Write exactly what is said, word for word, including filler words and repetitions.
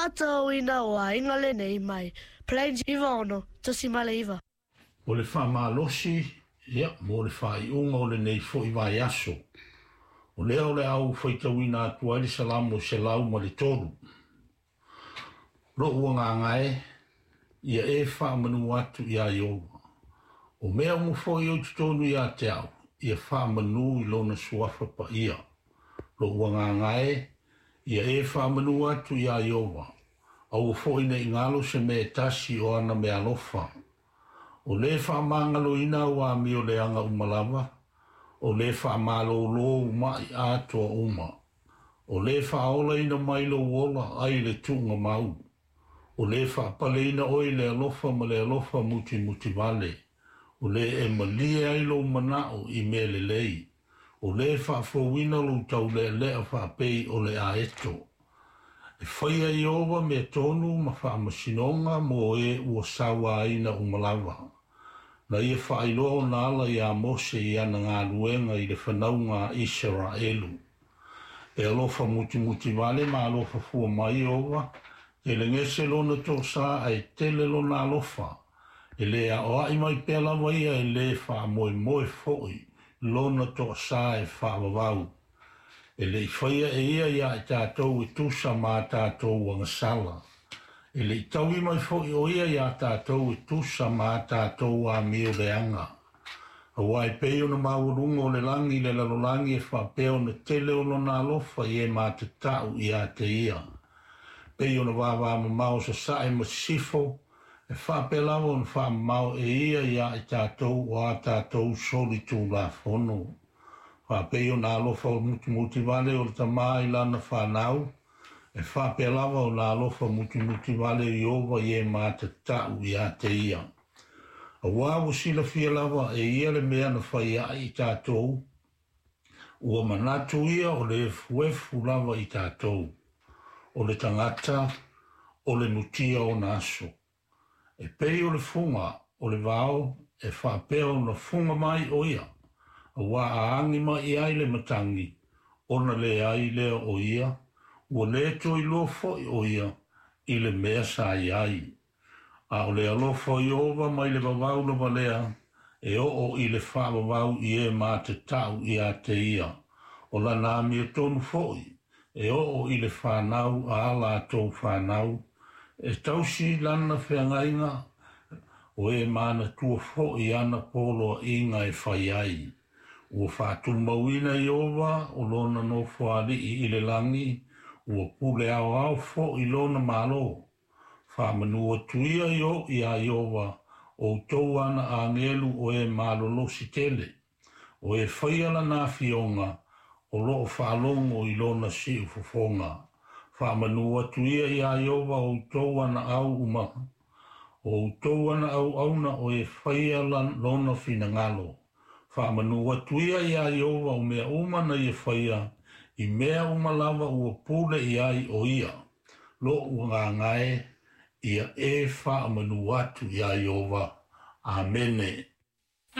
Aotauina o aiga lenei mai Plains iva ono tosimale iva. O le faamalosi, ia, mo le faaiuga o lenei foi vaiaso. O lea o le a ou faitauina atu ai le Salamo selau ma le tolu. Lo'u agaga e, ia e faamanu atu iā Ieova. O mea uma foi o i totonu ia te au, ia faamanu i lona suafa paia. Lo'u agaga e, ia e faamanu atu iā Ieova. Aua foi ne i galo se mea e tasi o ana meaalofa. O lē faamagaloina au amio leaga uma lava, o lē faamalōlō ou ma'i atoa uma. O lē faaolaina mai lou ola ai le tuugamau. O lē faapaleina oe i le alofa ma le alofa mutimutivale. O lē e malie ai lou mana'o i mea lelei. O lē faafouina lou taulealea faapei o le aeto. E faia e Ieova mea tonu ma faamasinoga mo e ua sauaina uma lava. Na ia faailoa ona ala iā Mose i ana galuega i le fanauga a Isaraelu. E alofa mutimutivale ma alofa fua mai Ieova, telegese lona toasā ae tele lona alofa. E lē aoa'i mai pea lava ia e lē faamoemoe foi lona toasā e faavavau. E le'i faia e ia iā i tatou e tusa ma a tatou agasala. E le'i taui mai foi o ia iā tatou e tusa ma a tatou amio leaga. Auā e pei ona maualuga o le lagi i le lalolagi e faapea ona tele o lona alofa i e matata'u ia te ia. Pei ona vavamamao sasae ma sisifo, e faapea lava ona faamamao e ia iā i tatou o a tatou solitulafono. Faapei ona alofa mutimutivale o le tamā i lana fanau, e faapea lava ona alofa mutimutivale o Ieova i e matata'u ia te ia. Auā ua silafia lava e ia le mea na fai a'i i tatou, ua manatu ia o le efuefu lava i tatou. O le tagata, o le mutia ona aso. E pei o le fuga o le vao e faapea ona fuga mai o ia, auā a agi mai i ai le matagi, ona leai lea o ia, ua lē toe iloa foi o ia i le mea sa i ai. A o le alofa o Ieova mai le vavau lava lea, e oo i le faavavau i e matata'u ia te ia. O lana amiotonu foi, e oo i le fanau a latou fanau, e tausi lana feagaiga, o e manatua foi ana poloaiga e fai ai. Ua faatumauina e Ieova o lona nofoalii i le lagi, ua pule aoao foi lona Malo. Faamanu atu ia iā Ieova, outou ana agelu o e malolosi tele, o e faia lana afioga, o loo faalogo i lona siufofoga. Faamanu atu ia iā Ieova outou ana au uma, o outou ana auauna o e faia lona finagalo. Faamanu atu ia iā Ieova o mea uma na ia faia, i mea uma lava ua pule i ai o ia. Lo'u agaga e, ia e faamanu atu iā Ieova. Amene.